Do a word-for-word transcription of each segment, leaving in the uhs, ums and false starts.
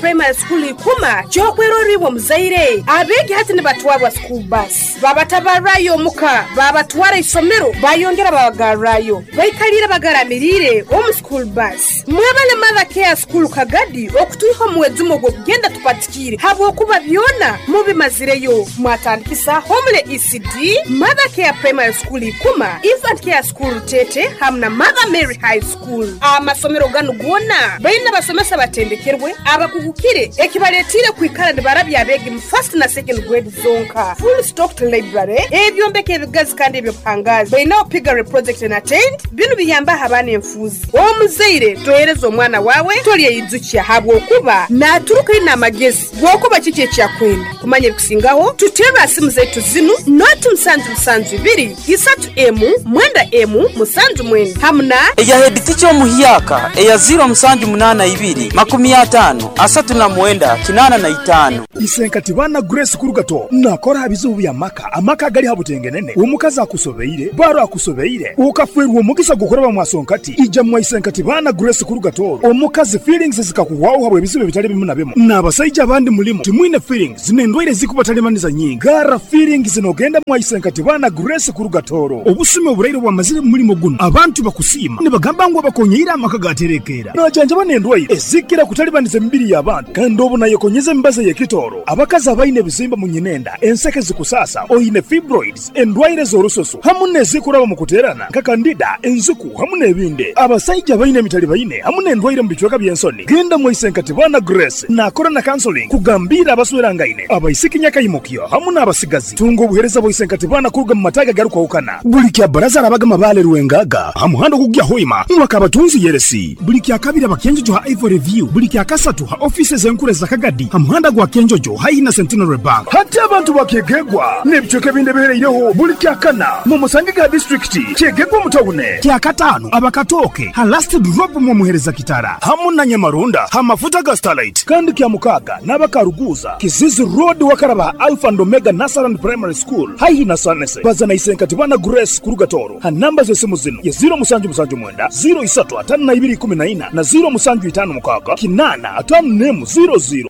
Primary School ikuma kyokweroribwa muzaire abeegi hati nibatwarwa school bus babatabarayo omuka babatwara isomero bayongera babagarrayo baikalire bagaramirire omu school bus. Mwebale Mother Care School Kagadi okutuiha omwezi ogw'okugenda tupatikire habwokuba byona mubimazireyo. Mwatandikisa Homule E C D, Mother Care Primary School ikuma, Infant Care School Tete hamwe na Mother Mary High School. Amasomero ganu gona baina basomesa batendekerwe abakugukire ekibaletire kwikara nibarabya abegi mu first na second grade zonka. Full stocked library ebyombeko ebigazi kandi ebyobuhangazi baina piggery project and attend binu biyamba abaana enfuzi. Omuzaire tohereza omwana wawe tolyeyijukia habwokuba naturuka ina amagezi gwokuba kiki ekyakwenda kumanya ebikusingaho. Tutera simu zaitu zinu noti musanju musanju ibiri isatu emu mwenda emu musanju mwenda hamuna eya head teacher omuhyaka eya zero musanju munana ibiri makumi atano asatu na mwenda kinana na itano. Isenkati bana Grace Kurugato nakora habizubu bya maka amaka gali habutengenene omukazi akusobeire baro akusobeire ukafwerwa omugisa gukora bamwasonkati ija mwa Isenkati bana Grace Kurugato omukazi feelings zikakuwaho habwe ebizibu bitali bimu na bimu n'abasajja abandi mulimo timwine feelings n'endwaire zikubatalemaniza nyingi gara feelings nogenda mwa Isenkati bana Grace Kurugatoro obusume oburaire bwamazire mu mulimo guno abantu bakusiima nibagamba ngu abakonyeira amaka gaterekera najanja banendwaire ezikira kutalibaniza emibiri y'abantu kandi obu nayekonyeza embaza y'ekitoro abakazi abaine ebizimba mu nyinenda enseke zikusasa oyine fibroids endwaire z'orusoso hamu n'ezikuraba mu kuterana nka kandida enzuku hamu n'ebindi abasajja abaine emitali baine hamu n'endwaire mu bicweka by'ensoni genda mwa Isenkati bana Grace nakora na counseling kugambira abaswerangaine abaisiki nyakayimukyo hamu n'abasigazi tunga obuhereza bwa Isenkati bana kuruga mu mataga garukwahukana buli kya baraza arabagama bale rwengaga hamuhando kugya hoima mwaka abatunzi yeresi buli kya kabiri abakenjojo ha Ivory View buli kya kasatu ha offices enkure za Kagadi hamuhanda gwa Kenjojo haihi na Centenary Bank hati abantu bakegegwa n'ebicweka ebindi bihereireho buli kya kana mu musange ga district kyegegwa mutawune kya katano abakatoke ha last drop mu muhereza kitara hamu na Nyamarunda ha mafuta ga Starlight kandi kya mukaga n'abakaruguza Kizizi Road wakaraba Alpha and Omega Nasaran Primary School haihi na Sanese bazana Isenkati bana Grace Kurugatoro ha namba z'esimu zino ya zero musanju musanju mwenda zero isatu atano na ibiri kumi na ina na zero musanju itano mukaga kinana atano nemu zero zero.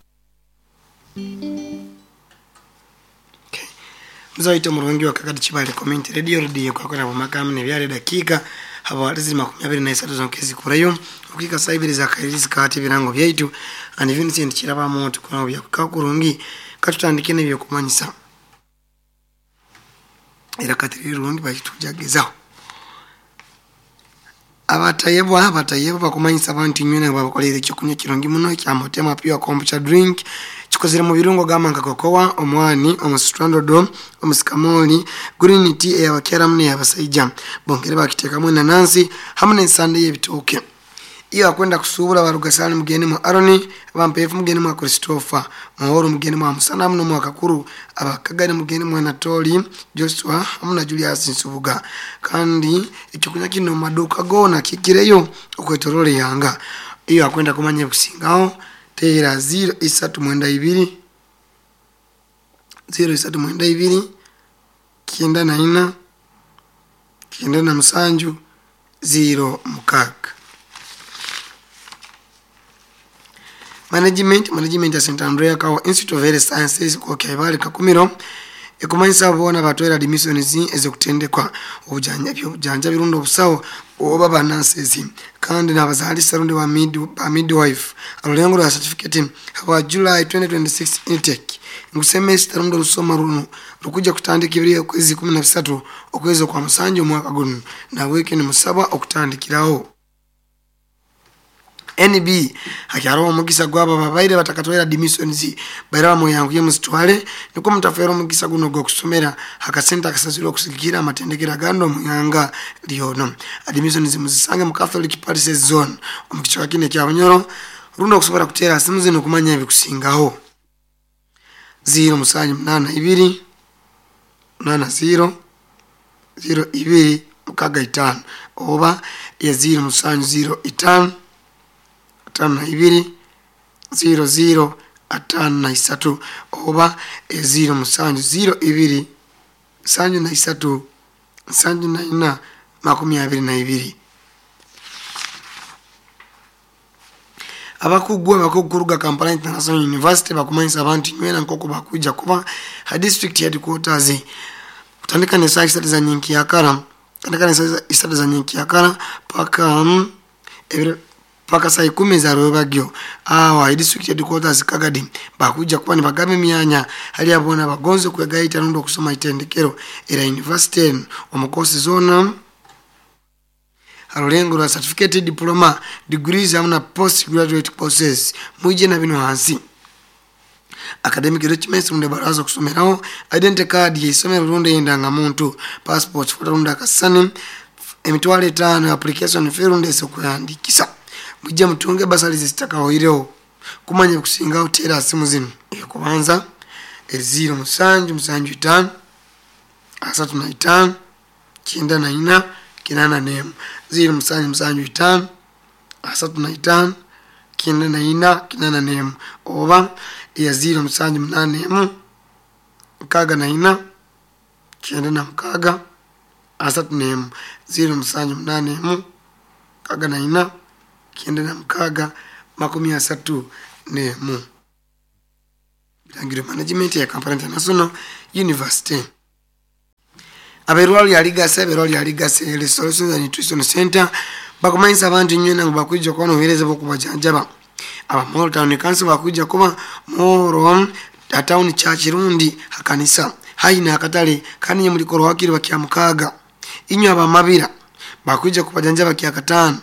Mzaito murungi wa Kagadi Chibale Community Radio Radio kwa kwa makamu ne byale dakika haba walizi makumi abiri na isatu zonkezi kurayo ukika saibiri za kairizi kati birango byaitu and Vincent Kiraba moto kuna bya kukurungi katutandike ne byokumanyisa era katiri rungi bakitujagezaho abatayebwa abatayebwa bakumanyisa abantu nywena babakolera ekyokunywa kirungi muno kya Motema Pure Kombucha drink kikozere mu birungo gamba nka kokowa omwani omusitrandodo omusikamoli green tea eyabakyala muno ey'abasajja bongere bakiteekamu enanansi hamwe n'ensande y'ebitooke. Iyo akwenda kusubula barugasani mugeni mu Aroni abampefu mugeni mu Christopher Muhoro mugeni mu Musana muno mu Kakuru abakagani mugeni mu Anatoli Joshua hamwe na Julius Nsubuga kandi ekyokunywa kino maduka gona kikireyo okwetorole yanga. Iyo akwenda kumanya kusingaho tera zero isatu mwenda ibiri zero isatu mwenda ibiri kienda na ina kienda na musanju zero mukaga. Management Management ya Saint Andrea Kawa Institute of Health Sciences kwa Kaibali Kakumiro ekumanyisa bona batwera admissions ezokutendekwa obujanja obujanja birundo obusawo oba bananses kandi n'abazaalisa rundi wa mid ba midwife alulengo lwa certificate wa July twenty twenty-six intake ngusemester rundo lusoma runo rukuja kutandika ibiri okwezi kumi na bisatu okwezi kwa musanju omwaka guno na wiki ni musaba okutandikirawo. N B hakyaro omugisa gwaba babaire batakatwera admissions baira muyangu ye musitwale niko mutafera omugisa guno gwokusomera hakasenta akasasiro okusigira amatendekera gando muyanga lyono admissions muzisange mu Catholic Parish Zone omukichwa kine kya Bunyoro rundo okusobola kutera simu zino kumanya ebikusingaho zero musanju munana ibiri munana zero zero ibiri mukaga itano oba ya zero musanju zero itano atano na ibiri zero zero atano na isatu oba e zero musanju zero ibiri sanju na isatu sanju na ina makumi abiri na ibiri. Abakugu abakuguruga Kampala International University bakumanyisa abantu nywena nkoko bakuja kuba ha district headquarters kutandika ne saa isatu za nyinkiyakara kutandika ne saa isatu za nyinkiyakara paka um, ebiro paka saa ikumi za rwebagyo. Awa district headquarters Kagadi bakuja kuba nibagaba emyanya hali abona bagonze kwegaita rundi okusoma itendekero era university omukosi zona harulengo lwa certificate, diploma, degrees hamwe na postgraduate courses. Mwije na bino hansi academic documents rundi baraza kusomeraho, identity card y'isomero rundi endangamuntu, passport foto rundi akasani, emitwalo etaano application fee rundi esokuyandikisa. Mujje mutunge basali zitakawoireho kumanya kusingaho tera simu zino ekubanza zero musanju musanju itaano asatu na itaano kyenda na ina kinana nemu zero musanju musanju itaano asatu na itaano kyenda na ina kinana nemu oba ya zero musanju munane emu mukaaga na ina kyenda na mukaaga asatu nemu zero musanju munane emu mukaaga na ina kyenda na mukaaga makumi asatu nemu. Bilangiro management ya Kampala International University. Aberwali aligase aberwali aligase Restoration and Nutrition Center bakumanyisa abantu nywena ngu bakuja kuba nobuheereza bw'okubajanjaba. Abamoro Town Council bakuja kuba Moro Town Church rundi hakanisa haina akatale kandi nye mulikoro wakiri bakya mukaaga. Inywe abamabira bakuja kubajanjaba kya kataano.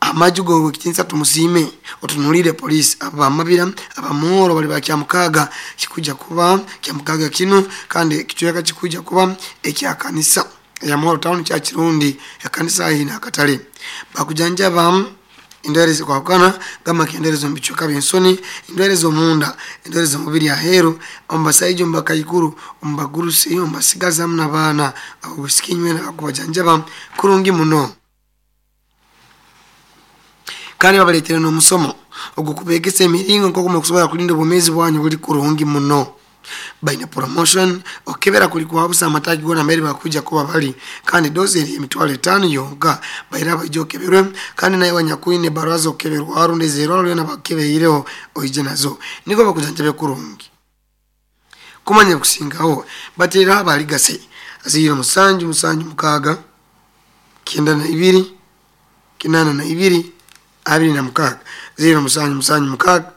Amajugo wekitinsa tumusime otunulire polisi. Abamabira abamoro bali bakya mukaaga kikuja kuba kya mukaaga kino kandi kichweka kikuja kuba ekya kanisa ya Moro Town Church rundi ya kanisa ina akatale. Bakujanjaba endwere zikwakana gama kenderezo mbichweka byensoni, endwere z'omunda, endwere z'omubiri aheru, omubasaija omubakaikuru, omubagurusi, omubasigazi hamu n'abaana abobusiki nywena bakubajanjaba kurungi muno. Kandi babaleetera n'omusomo ogukubegesa emiringo nk'oku mukusobola kulinda obwomeezi bwanyu buli kurungi muno. Baina promotion okebera kuli kwabusa amatagi gona mbere bakuja kuba bali kandi dozi eri emitwalo etaano yonka baira baija okeberwe kandi naye wanyakuine baraza okeberwa arundi zero lyona bakebeireho oije nazo niko bakujanjabe kurungi. Kumanya kusingaho batera abaligase zero musanju musanju mukaaga kyenda na ibiri kinana na ibiri abiri na mukaaga zero musanju musanju mukaaga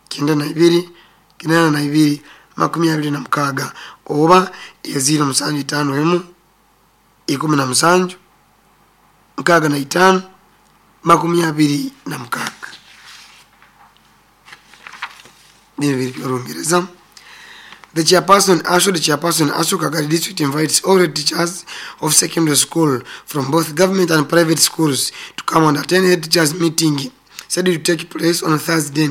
kyenda na ibiri kinana na ibiri makumi abiri na mukaaga oba ya zero musanju itaano emu ikumi na musanju mukaaga na itaano makumi abiri na mukaaga. Bino biri by'Olungereza. The chairperson, Ashu, the chairperson, Ashu Kagadi District invites all the teachers of secondary school from both government and private schools to come and attend a teachers meeting scheduled to take place on Thursday,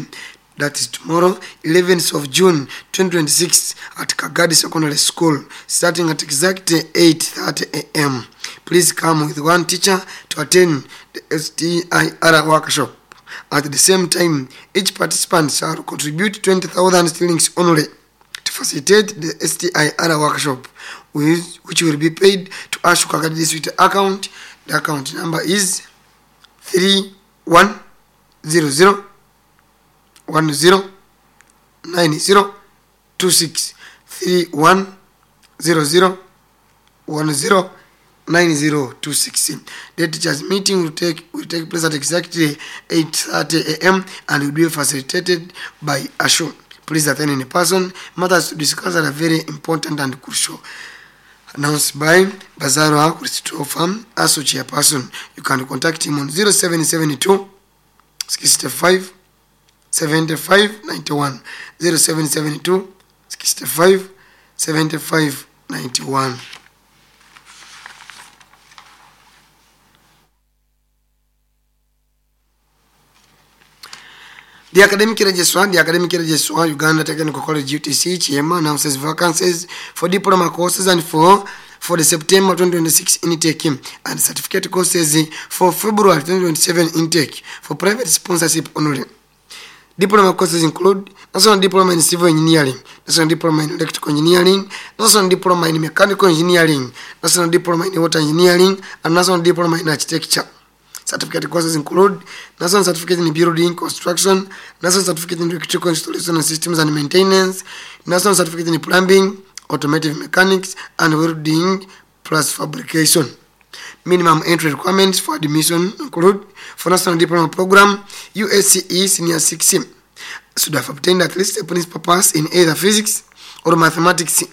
that is tomorrow, eleventh of June twenty twenty-six at Kagadi Secondary School, starting at exactly eight thirty a m. Please come with one teacher to attend the S T I R workshop. At the same time, each participant shall contribute twenty thousand shillings only to facilitate the S T I R workshop, which, which will be paid to Ashu Kagadi District account. The account number is three one zero zero one zero nine zero two six three one zero zero one zero nine zero two six. The teachers meeting will take will take place at exactly eight thirty a m and will be facilitated by Ashu. Please attend in person. Matters to discuss are very important and crucial. Announced by Bazarwa Christopher, Asu chairperson. You can contact him on zero seven seven two sixty-five seventy-five ninety-one zero seven seven two sixty-five seventy-five ninety-one. The academic registrar, the academic registrar, Uganda Technical College U T C, Chiema, announces vacancies for diploma courses and for for the September twenty twenty-six intake and certificate courses for February twenty twenty-seven intake for private sponsorship only. Diploma courses include National Diploma in Civil Engineering, National Diploma in Electrical Engineering, National Diploma in Mechanical Engineering, National Diploma in Water Engineering, and National Diploma in Architecture. Certificate courses include National Certificate in Building Construction, National Certificate in Electrical Installation and Systems and Maintenance, National Certificate in Plumbing, Automotive Mechanics, and Welding plus Fabrication. Minimum entry requirements for admission include for National Diploma Program, U S C E Senior six should have obtained at least a principal pass in either physics or mathematics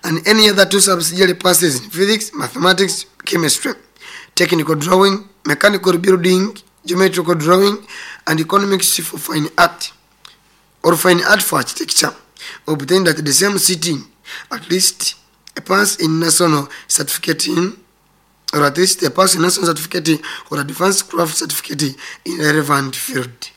and any other two subsidiary passes in physics, mathematics, chemistry, technical drawing, mechanical building, geometrical drawing, and economics for fine art or fine art for architecture, obtained at the same sitting, at least a pass in national certificate in, or at least a pass in national certificate or advanced craft certificate in relevant field.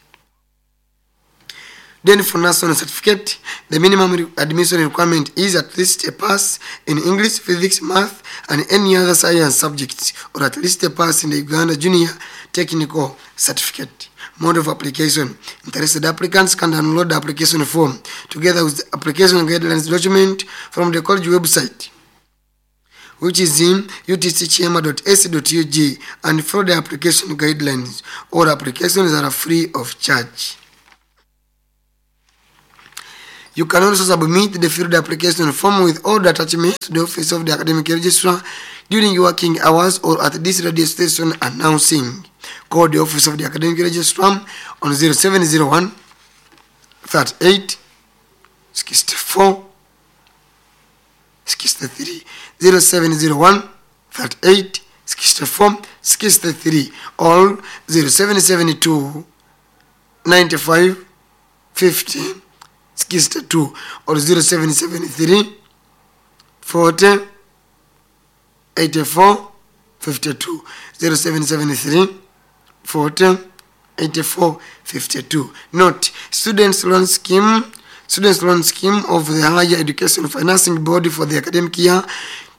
Then for national certificate, the minimum admission requirement is at least a pass in English, physics, math, and any other science subjects, or at least a pass in the Uganda Junior Technical Certificate. Mode of application. Interested applicants can download the application form together with the application guidelines document from the college website, which is in U T C chema dot A C dot U G, and follow the application guidelines. All applications are free of charge. You can also submit the filled application form with all the attachments to the office of the academic registrar during working hours or at this radio station announcing. Call the office of the academic registrar on zero seven zero one thirty-eight sixty-four sixty-three, zero seven zero one thirty-eight sixty-four sixty-three, or zero seven seven two ninety-five fifty sixty-two, or zero seven seven three forty eighty-four fifty-two, zero seven seven three forty eighty-four fifty-two. Note, students loan scheme, students loan scheme of the Higher Education Financing Board for the academic year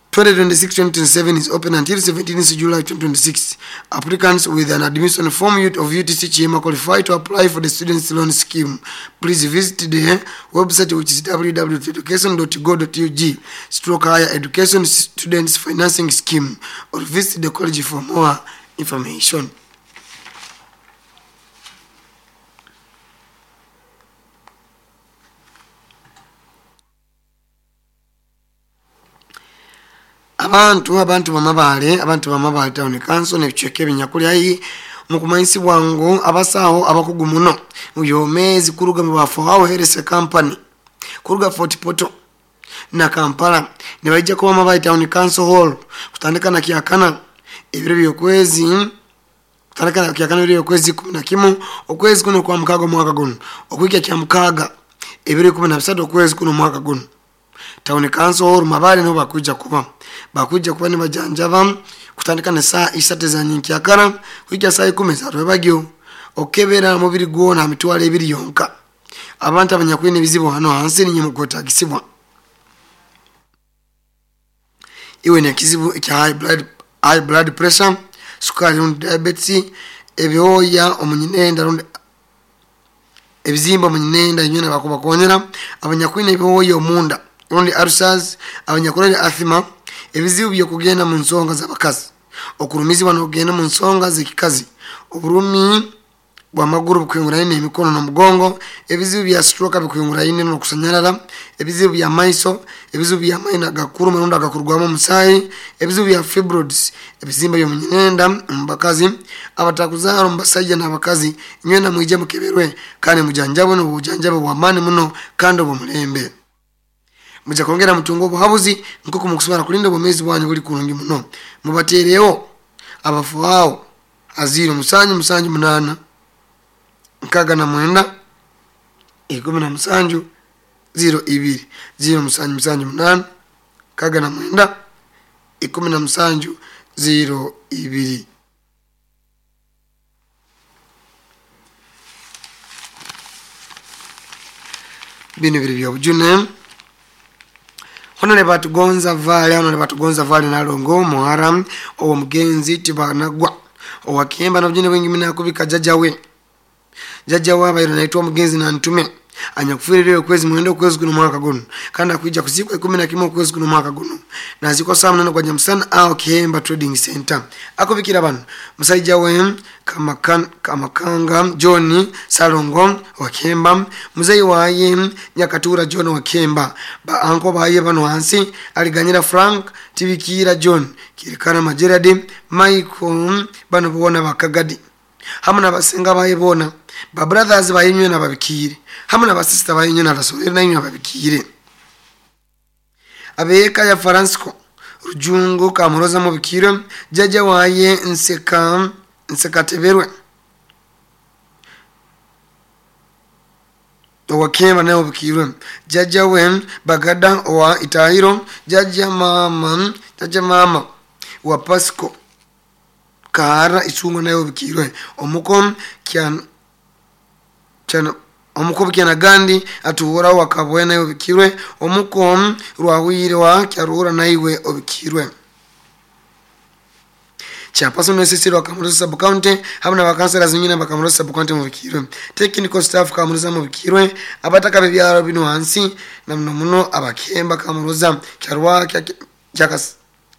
twenty twenty-six twenty twenty-seven is open until seventeenth July twenty twenty-six. Applicants with an admission form of U T C Chema qualify to apply for the students loan scheme. Please visit the website, which is w w w dot education dot go dot u g stroke higher education students financing scheme, or visit the college for more information. Abantu abantu bamabale abantu bamabale town council nebicheke ebinyakuli ayi mukumanisi bwangu abasawo abakugu muno uyomezi kuruga mu bafo aho herese company kuruga Fort Portal na Kampala ne bajja kuba mabale town council hall kutandika na kiakana ebiro byokwezi kutandika na kiakana ebiro byokwezi kumi na kimu okwezi kuno kwa mukago mwaka guno okwikya kya mukaga ebiro kumi na bisatu okwezi kuno mwaka guno town council hall mabale no bakuja kuba bakuja kuba ne bajanjaba kutandika na saa isatu za nyikyakara kwijja saa ikumi za rwebagyo okebera mubiri gwona mitwalo ebiri yonka abantu abanyakwine bizibu hano hansi ninye mukotagisibwa iwe ne kizibu kya high blood high blood pressure, sukari rundi diabetes, ebyoya omunyinenda rundi ebizimba omunyinenda nyona bakuba konyera abanyakwine ebyoya omunda rundi ulcers, abanyakulala asthma, ebizibu byokugenda mu nsonga z'abakazi, okulumizibwa n'okugenda mu nsonga z'ekikazi, obulumi bw'amagulu bukwinguraine emikono n'omugongo, ebizibu bya stroke bikwinguraine n'okusanyalala, ebizibu bya maiso, ebizibu bya maino agakuluma rundi agakurugwamu omusaayi, ebizibu bya fibroids, ebizimba by'omunyinenda mu bakazi, abatakuzaara mu basajja n'abakazi, nywena mwije mukeberwe kandi mujanjabwe n'obujanjabi bw'amaani muno kandi obw'omulembe. Muja kwongera mutungo obuhabuzi nk'oku mukusobola kulinda obwomeezi bwanyu buli kurungi muno. Mubateerewo abafu awo aziro musanju musanju munaana nkaga na mwenda ikumi na musanju ziro ibiri ziro musanju musanju munaana nkaga na mwenda ikumi na musanju ziro ibiri. Bino biri byobujune. Hono lebatugonza vale, hono lebatugonza vale nalongo muharam owo mugenzi tibanagwa owakemba na bujune bwingi mina kubika jajawe jajawe abairo naitwa mugenzi na ntume Anyakufiire okwezi mwenda okwezi kuno mwaka guno kandi akuija kuzikwa ikumi na kimwe okwezi kuno mwaka guno nazikwa saa munana gwa nyamusana aho Kihemba Trading Center. Akubikira bano musaija we Kamakan, Kamakanga John Salongo wa Kihemba, muzeyi waye Nyakatura John wa Kihemba, ba anko baye bano hansi Aliganyira Frank Tibikira John Kirikana Majeradi Michael bano bona bakagadi hamwe n'abasenga baye bona ba brothers bayinywe nababikire hamwe n'abasista bayinywe n'abasorere nayinywe ababikire. Abeka ya Francisco Rujungu Kamuroza mubikire jaja waye Nseka Nsekateberwe Owakemba naye obukirwe jaja we Bagada owa Itahiro jaja mama jaja mama wa Pasco Kahara Isungo naye obukirwe omuko kyan chana omuko kyana Gandi atuhura wakabwe naye obukirwe omuko rwawire wa kyarura naiwe obukirwe. Chairperson wa Sisi wa Kamuroza Sub County hamwe n'abakansela zinyina bakamuroza Sub County mubikirwe technical staff Kamuroza mubikirwe abataka bebyaro bino hansi na muno muno abakemba Kamuroza kyarwa kya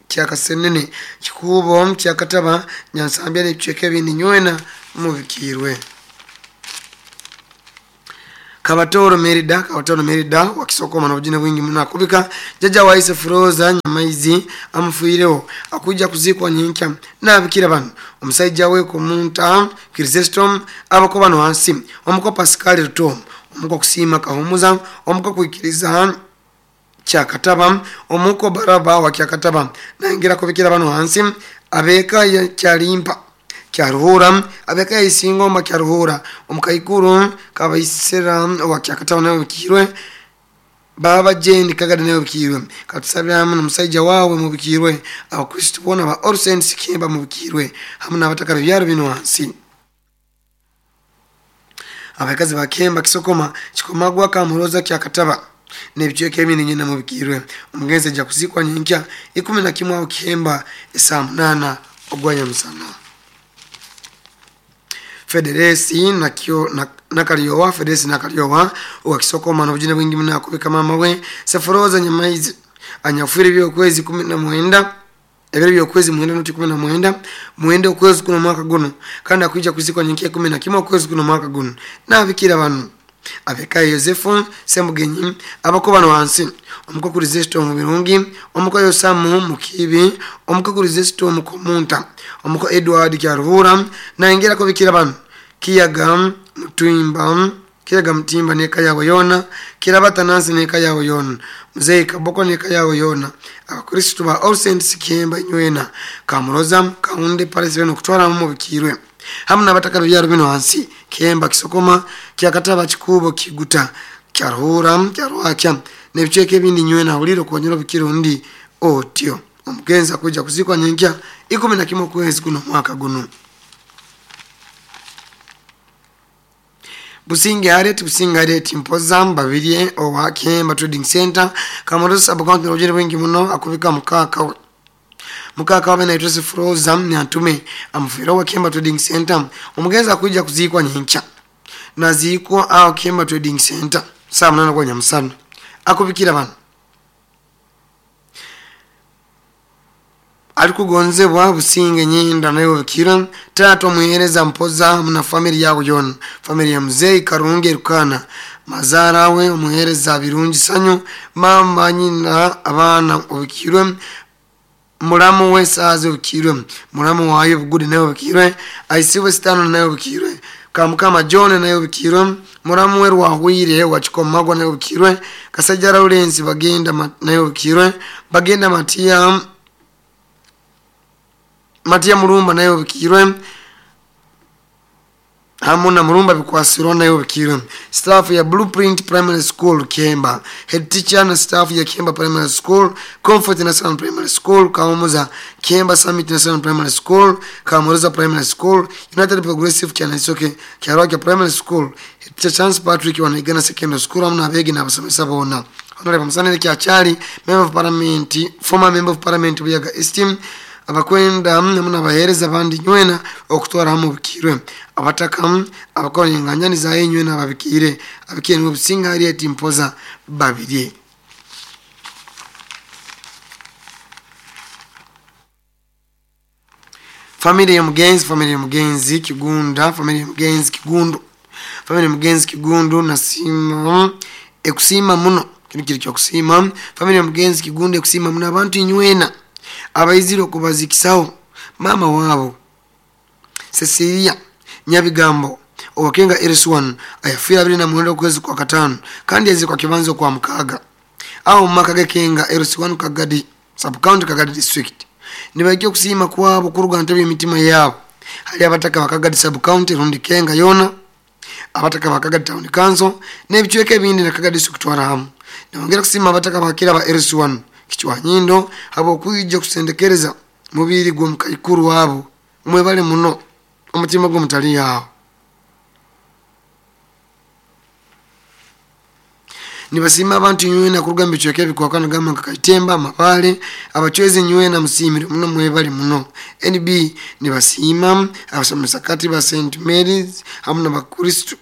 kyakasenene kikubo kyakataba Nyansambya n'ebicweka ebindi nywena mubikirwe. Kabatoro Merida Kabatoro Merida wakisokoma na ujina wingi muno akubika jaja waise Furoza Nyamaizi amufuireho akuja kuzikwa nyinkya nabikira bano omusaija we komunta Chrysostom abako bano hansi omuko Pascal Ruto omuko kusima Kahumuza omuko kuikiriza Kyakataba omuko Baraba wa Kyakataba nangira kubikira bano hansi abeka ya Kyalimpa Kyaruhura abeka ya Isingoma Kyaruhura omukaikuru kabaisera wa Kyakataba nayo bikirwe baba Jane Kagada nayo bikirwe katusabira hamwe n'omusaija wawe mubikirwe abakristo bona ba All Saints Kemba mubikirwe hamwe n'abataka byaro bino hansi. Abakazi ba Kemba Kisokoma Kikomagwa Kamuroza Kyakataba n'ebicweka ebindi nyina mubikirwe omugenzi ajja kuzikwa nyinkya ikumi na kimwe aho Kihemba esaa munana ogwa nyamusana. Federesi nakyo nakalyowa Federesi nakalyowa wakisokoma n'obujina bwingi muno akubika mama we Sefuroza Nyamaizi anyafuire by'okwezi kumi na mwenda ebiro by'okwezi mwenda noti kumi na mwenda mwenda okwezi kuno mwaka guno kandi akuija kuzikwa nyinkya ikumi na kimwe okwezi kuno mwaka guno nabikira bano abeka Yosefu Semugenyi abako bano hansi omuko kurizesto mu birungi omuko Yosamu mukibi omuko kurizesto mu komunta omuko Edward Kyaruhura naingira ko bikira bano Kiyaga Mutimba Kiyaga Mutimba neka yawe yona Kirabata Nansi neka yawe yona Mzee Kaboko neka yawe yona abakristo ba All Saints Kemba nywena Kamuroza Kaunde Paris beno kutwara mu bikirwe hamwe n'abataka byaro bino hansi Kemba Kisokoma Kyakataba Kikubo Kiguta Kyaruhura Kyarwakya n'ebicweka ebindi nywena huliro konyera bikiro ndi otyo omugenzi kuja kuzikwa nyinkya ikumi na kimwe kwezi kuno mwaka guno. Businge Harriet Businge Harriet Mpoza Mbabirye owa Kemba Trading Center Kamuroza Sub County n'obujina bwingi muno akubika mukaka mukaka wabe na Joseph Rosa Nyantume amufiira wa Kemba Trading Center omugenzi akuja kuzikwa nyinkya nazikwa aho Kemba Trading Center saa munana gwa nyamusana akubikira bano alikugonzebwa Businge nyinda nayo bikira tatu muhereza Mpoza mna family yao yona family ya mzee Karunge Rukana mazara we umuhereza Birungi Sanyu mama nyina abana obikirwe mulamu we saze obikirwe mulamu wayo Bugudi nayo obikirwe aisiwe sitano nayo obikirwe Kamukama John nayo obikirwe mulamu we Rwahwire wa Kikomagwa nayo obikirwe Kasajja Lawrence bagenda nayo obikirwe bagenda Matia Matia Mulumba nayo obikirwe hamwe na Mulumba bikwasirwa nayo obikirwe staff ya Blueprint Primary School Kemba head teacher na staff ya Kemba Primary School Comfort National Primary School Kamuza Kemba Summit National Primary School Kamuroza Primary School United Progressive Kyanasoke Kyarwakya Primary School head teacher Chance Patrick wa Naigana Secondary School hamwe n'abegi n'abasomesa bona Honorable Musanire Kyachali Member of Parliament former Member of Parliament Buyaga East abakwenda hamu n'abaheereza abandi nywena okutwara hamu bikirwe abataka abakora enganyani zayo nywena babikire abikiire niwe Businga Harriet Mpoza Babirye. Familia ya mugenzi, familia ya mugenzi Kigunda, familia ya mugenzi Kigundu, familia ya mugenzi Kigundu nasima ekusima muno kino kiri kyo kusima. Familia ya mugenzi Kigundu ekusima muno abantu inywena abaizire okubazikisaho mama wabo Cecilia Nyabigambo owakenga Eriswan ayafiira abiri na mwenda okwezi kwa katano kandi yazikwa kibanzo kwa mukaga aho maka gekenga Eriswan Kagadi sub county Kagadi district. Nibaikyo kusima kwabo kuruga ntebe emitima yabo hali abataka bakagadi sub county rundi kenga yona abataka bakagadi town council n'ebicweka ebindi na Kagadi district twara hamu. Nibongera kusima abataka bakira ba Eriswan kichwa nyindo habo kwijja kusendekereza mubiri gwo mukaikuru wabo mwebale muno omutima gwo mutali yawo. Nibasima abantu nywena kuruga mbicweka ebikwakana gamba nka Kaitemba Mabale abachwezi nywena musimire muno mwebale muno. N B nibasima abasomesa kati ba Saint Mary's hamu n'abakristo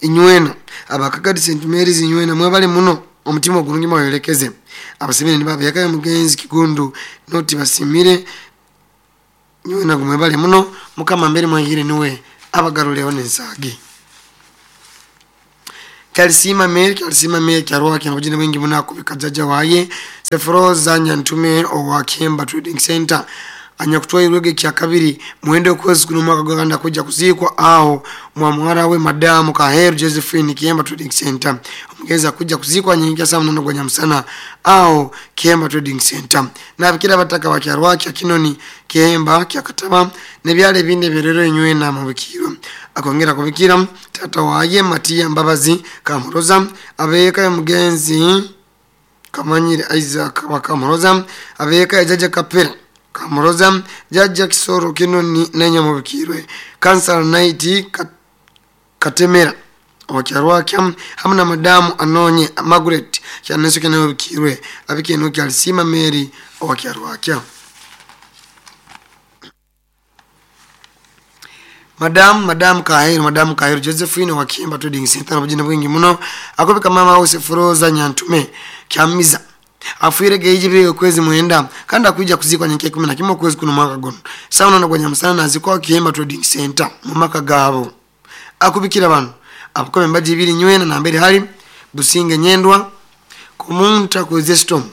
inywena abakagadi Saint Mary's inywena mwebale muno omutima ogulungi mweyolekeze. Abasimire nibabiyaka mugenzi Kigundu noti basimire nywena mwebale muno mukama mbere mwahire niwe abagaruleho n'ensagi. Kalisima Mary, Kalisima Mary kyarwa kina bujine bwingi muna kubika jaja waye Sefroza Nyantume owa Kemba Trading Center anyakutwa irwege kya kabiri muende okwezi kuno mwaka gwaganda kuja kuzikwa aho mwamuhara we madamu Kaheru Josephine Kemba Trading Center omugeza kuja kuzikwa nyingi saa munono gwa nyamusana aho Kemba Trading Center. Na bikira bataka wa kyarwa kya Kinoni Kemba kya Kataba nebyale binde berero enywena mu bikiro. Akongera kubikira tata waye Matia Mbabazi Kamuroza abeka ya mugenzi Kamanyire Isaac Bakamuroza abeka ya jaja Kapera Kamuroza jaja Kisoro Kinoni nenya mu bikirwe Kansala Night Katemera okyarwakya hamwe na madamu Anonye Margaret kyaneso kene bikirwe abikeno kyalisima Mary okyarwakya. Madam, Madam Kaheru, Madam Kaheru Josephine wa Kimba Trading Center bujina bwingi muno akobika mama wose Froza Nyantume kyamiza afuire geije kwezi mwenda kandi akuja kuzikwa nyeke kumi na kimwe kwezi kuno mwaka gono sawa na gwanya musana nazikwa Kimba Trading Center mu maka gabo akubikira bano abukobe mbaji ibiri nywena na mbere hali Businge Nyendwa kumunta ku Zestom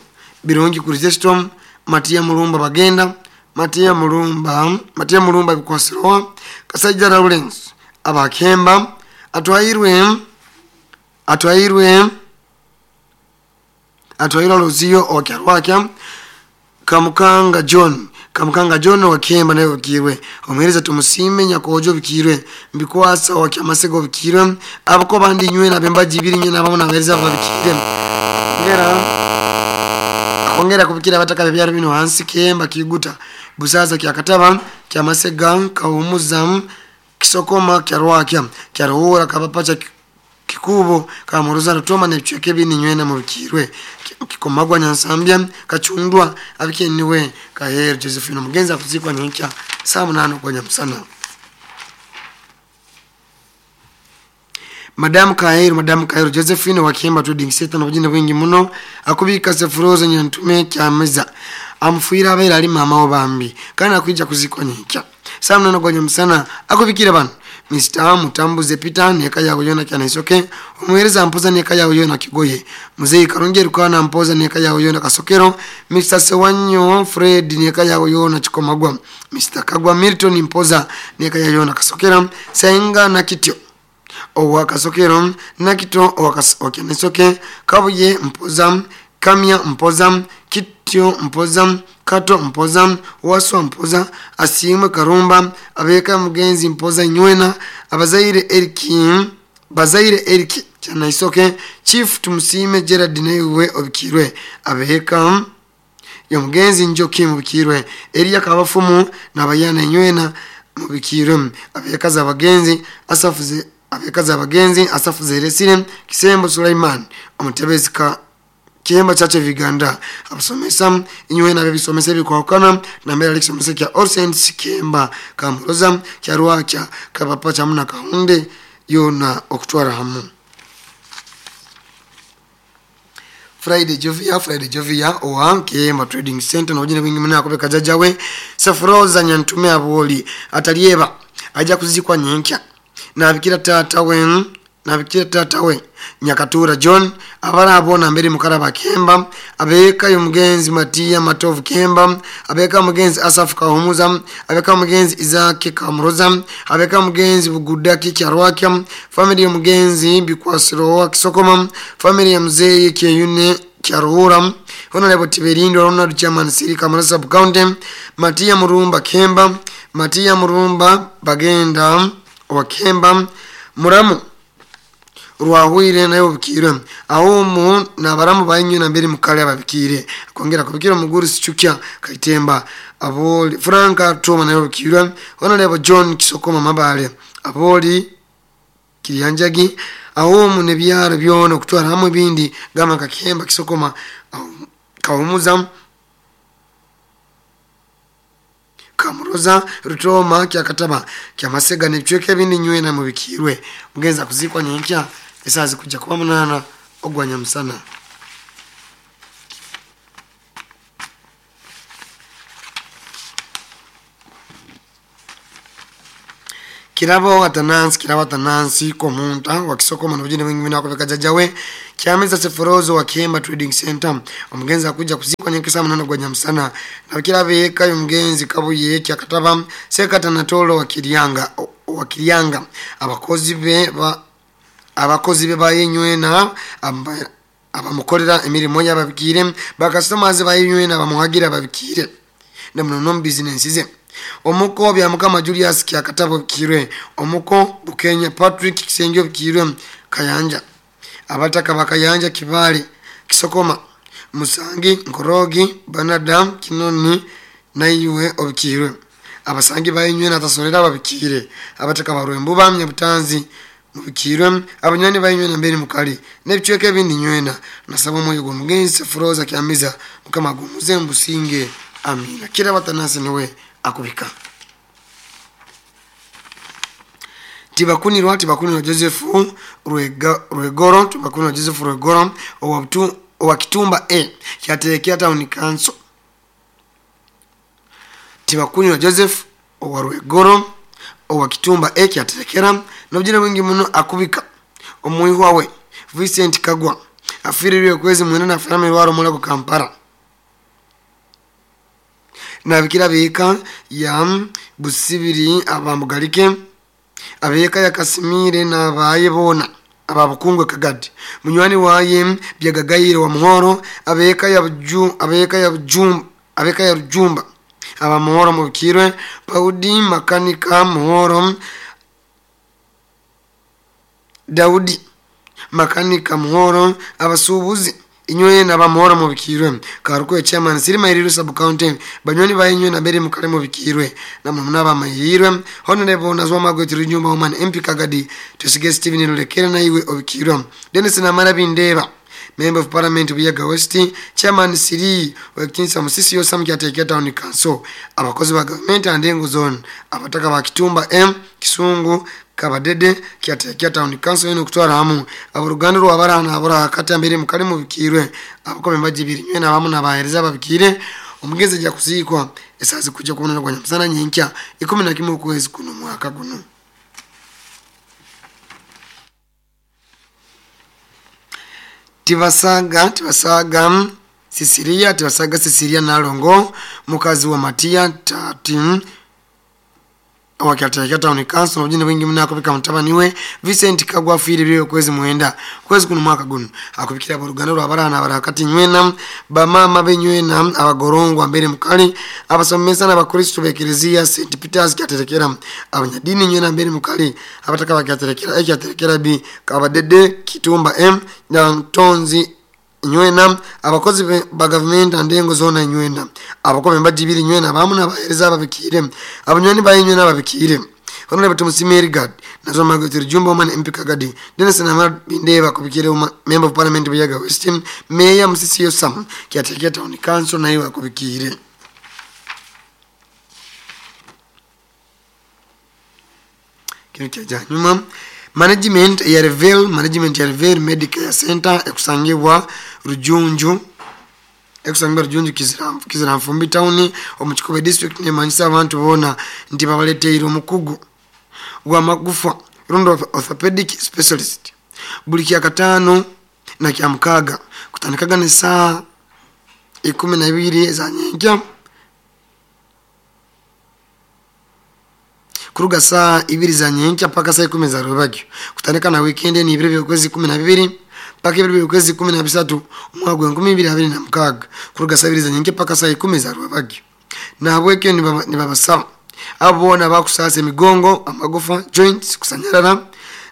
Birungi ku Zestom Matia Mulumba bagenda Matia Mulumba Matia Mulumba bikwasiroa Kasajja Lawrence abakemba atwairwe atwairwe atwairwa Lozio okyarwakya Kamukanga John Kamukanga John wakemba nayo bikirwe omuhereza tumusime nyakojo bikirwe mbikwasa wakyamasego bikirwe abako bandi nywena bembaji ibiri nywena abamu nabereza babikire ngera akongera kubikira abataka byaro bino hansi Kemba Kiguta Busaza kyakataba kyamasega kawumuza Kisokoma kyarwakya kyaruhura kabapacha Kikubo kamuruza rutoma n'ebicweka bini nywena mu bikirwe Kikomagwa Nyansambya Kachundwa abikeniwe Kaheru Josephine mugenzi akuzikwa nyinkya saa munano kwa nyamusana. Madam Kaheru, Madam Kaheru Josephine wa Kimba Trading Center na bujina bwingi muno akubika Sefroza Nyantume kyameza amfuira abera ali mama obambi kana akwijja kuzikwa nyinkya saa munano kwa nyamusana akubikira bano Mister Mutambuze Peter neka yawe yona kyana isoke omuhereza mpoza neka yawe yona kigoye Muzeyi Karungi Rukana mpoza neka yawe yona kasokero Mister Sewanyo Fred neka yawe yona chikomagwa Mister Kagwa Milton mpoza neka yawe yona kasokero Senga na Kityo owa kasokero Nakito owa kasokero Kabuye mpoza Kamya mpoza Kityo mpoza Kato mpoza Waswa mpoza Asimwe Karumba abeka mugenzi mpoza nywena abazaire Eriki bazaire Eriki cyana isoke Chief Tumusime Gerard newe obikirwe abeka yo mugenzi Njoki mubikirwe Elia Kabafumu nabayana nywena mubikirwe abeka za bagenzi asafuze abeka za bagenzi asafuze Resire Kisembo Sulaiman omutebezi ka Kihemba Church of Uganda abasomesa inywe na bebisomesa ebikwakana na mbere alisomesa kya All Saints Kihemba Kamuroza kya Rwakya Kabapa chamuna Kahunde yona okutwara hamu. Friday Jovia Friday Jovia owa Kihemba Trading Center na ujine wingi mna akobeka jajawe Safroza nyantume aboli atalieba aja kuzikwa nyenkya na bikira tata we na bikira tata we Nyakatura John abara abona mbere mukaraba Kemba abeka yumugenzi Matia Matovu Kemba abeka mugenzi Asaf Kahumuza abeka mugenzi Isaac Kamuroza abeka mugenzi Bugudaki Kyarwakya family mugenzi Bikwasiro wa Kisokoma family ya mzee Kyeyune Kyaruhura Honorable Tiberindo Ronald Chairman Siri Kamuroza Sub County Matia Murumba Kemba Matia Murumba Bagenda wa Kemba Muramu Rwahwire nayo bikire aho na baramu bayinyu na mbere mukale ababikire kongera kubikira muguru sichukya Kaitemba aboli Franka Toma nayo bikire Honorable John Kisokoma Mabale aboli Kirianjagi aho ne byaro byona kutwara hamwe bindi gama kakemba Kisokoma Kahumuza Kamuroza Rutoma kyakataba kyamasega nebicweke bindi nywe na mubikirwe mugenza kuzikwa nyenkya esazi kujja kuba munana ogwanya musana. Kirabo atanansi kirabo atanansi komunta wakisokoma na ujine wingi minako jajawe kyameza Seforozo wa Kihemba Trading Center omugenzi akuja kuzikwa nyenkesa munana gwanya musana na kirabe eka yomugenzi kabuye kyakataba sekata natolo wa Kirianga wa Kirianga abakozi be ba abakozi be bayenywena abamukolera emirimo yababikire bakasoma bayenywena bamuhagira babikire na muno business ze omuko bya mukama Julius kyakatabo kirwe omuko Bukenya Patrick Kisengyo kirwe Kayanja abataka bakayanja Kibale Kisokoma Musangi Nkorogi Banadam Kinoni naiwe obikirwe abasangi bayenywena tasolera babikire abataka barwembu bamye butanzi mubikirwe abanyani bayenywena mbere mukali nebicweke bindi nywena nasaba moyo gwo mugenzi Froza kyamiza mukama gumuze mbusinge amina kira batanasi niwe akubika. Tibakunirwa tibakunirwa Joseph Ruega Ruegoro tibakunirwa Joseph Ruegoro owa owa Kitumba A kyaterekera town council Tibakunirwa Joseph owa Ruegoro owa Kitumba A kyaterekera nobjira wingi muno akubika omuihwa we Vincent Kagwa afirirwe kwezi mwena na family waro mulako Kampala na bikira bika ya Busibiri abamugalike abeka ya Kasimire na bayebona ababukungwe Kagadi munywani waye byagagayire wa Muhoro abeka ya Buju abeka ya Bujumba abeka ya Rujumba aba Muhoro mubikirwe Paudi makanika Muhoro Daudi makanika Muhoro abasubuzi inywe na bamuhoro mubikirwe Karuko chairman Sirima Iriru sub county banywani bayinywe na bere mukale mubikirwe na munaba mahirwe Honorable Nazwa Magwe Rujumba woman M P Kagadi Tusige Steven Lulekera na iwe obikirwe Dennis Namara Bindeba Member of Parliament Buyaga West Chairman Siri Wekinsa Musisi Yosam kyatekera town council abakozi ba government and engo zone abataka ba Kitumba M Kisungu Kabadede kyatekera town council eno kutwara hamu aburuganda rwabarana abura kata mbere mukali mubikirwe abakome mbajibiri nywe nabamu nabahereza babikire omugeze ja kuzikwa esazi kujja kubona kwa nyamusana nyenkya ikumi na kimwe kwezi kuno mwaka guno. Tibasaga tibasaga Sisiria tibasaga Sisiria nalongo mukazi wa Matia tati wakyatekera town council ojine wingi mnako bika mutabani Vincent Kagwa afire byo kwezi mwenda kwezi kuno mwaka guno akubikira boruganda rwabarana barakati nywena bamama benywena abagorongwa mbere mukali abasomesa n'abakristo bekereziya Saint Peters kyaterekera abanyadini nywena mbere mukali abataka bakyaterekera ekyaterekera bi Kabadede Kitumba M na Ntonzi nywena abakozi ba government andengo zona nywena abakobe mbajibiri nywena bamu nabahereza babikire abanywani bayinywena babikire Honorable Tumusiime Erigad Nazo Margaret Rujumba Woman M P Kagadi Dennis Namara Bindeba akubikire Member of Parliament Buyaga West Mayor Musisi Yosam Kyaterekera Town Council nayo akubikire. Kino kyajanyuma management ya Revel management ya Revel Medical Center ekusangibwa Rujunju ekusangibwa Rujunju Kizira Kizira Nfumbi Town omu Kikobe district ne manyisa abantu bona nti babaleteire omukugu gwa magufa rundo orthopedic specialist buli kya katano na kya mukaga kutandikaga ne saa ikumi na ibiri za nyenkya kuruga saa ibiri za nyenkya paka saa ikumi za rubagyo kutandika na weekend ni ibiri by'okwezi kumi na bibiri paka ibiri by'okwezi kumi na bisatu omwaka gwa enkumi ibiri abiri na mukaga kuruga saa ibiri za nyenkya paka saa ikumi za rubagyo. Nahabwekyo nibabasaba abo boona bakusasa emigongo amagufa joints kusanyarara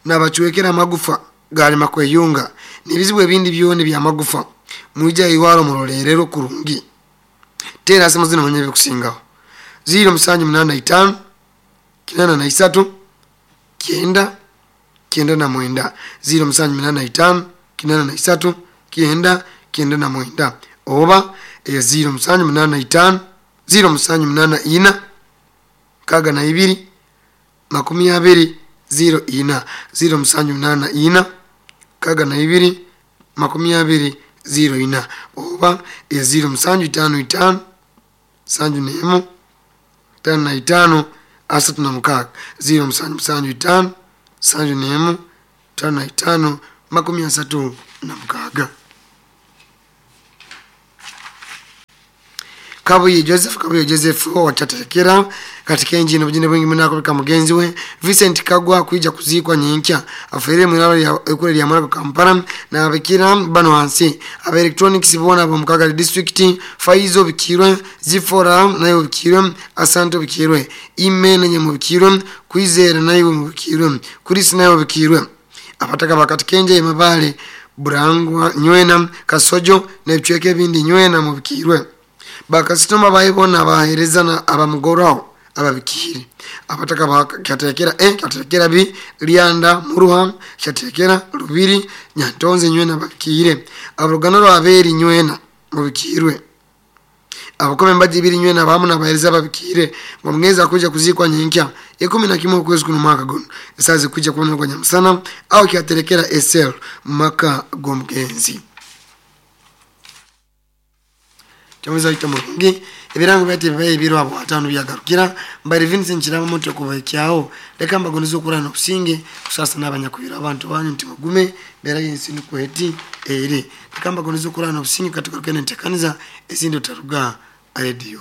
nabachwekera amagufa galema kweyunga nibizibu ebindi byona byamagufa mwija iwaro murolerero kurungi tera simu zino mwenye bikusingaho ziro musanju munana itano kinana na isatu kienda kienda na mwenda ziro musanju munana itano kinana na isatu kienda kienda na mwenda oba eyo ziro musanju munana itano ziro musanju munana ina kaga na ibiri makumi abiri ziro ina ziro musanju munana ina kaga na ibiri makumi abiri ziro ina oba eyo ziro musanju itano itano sanju nemu tano na itano asatu na mukaga ziro musanju musanju itano sanju nemu tano na itano makumi asatu na mukaga. Kabuye Joseph Kabuye Joseph watatekera katika enjini obujine bwingi munako mugenzi we Vincent Kagwa kuija kuzikwa nyenkya afere mwiralo ya ekule lya Mulago Kampala na abikira bano hansi aba electronics bona bo Mukaga district Faizo bikirwe Zifora nayo bikirwe Asante bikirwe Imene nyemo bikirwe Kwizera nayo bikirwe Kurisi nayo bikirwe abataka bakatikenje emabale Burangwa nywena Kasojo nebicweke bindi nywena mu bikirwe bakasitoma bayibona bahereza na abamugorao ababikiri abataka bakyatekera e kyatekera bi Lyanda Muruha kyatekera Lubiri Nyantonze nywena babikire abarugano rwaberi nywena mubikirwe abakome mbaji biri nywena bamu na bahereza babikire ngo mweza kuja kuzikwa nyenkya ikumi na kimwe kwezi kuno mwaka gono esazi kuja kubona kwa nyamusana au kyaterekera S L maka gomgenzi Chamweza ita murungi ebirango byati bibaye biro abo atano byagarukira mbari Vincent Kirama moto kubaikyaho leka mbagonizo kurana kusinge kusasa n'abanyakubira abantu banyu nti mugume bera yensi nukweti ere leka mbagonizo kurana kusinge katika rukene ntekaniza ezindi utaruga radio.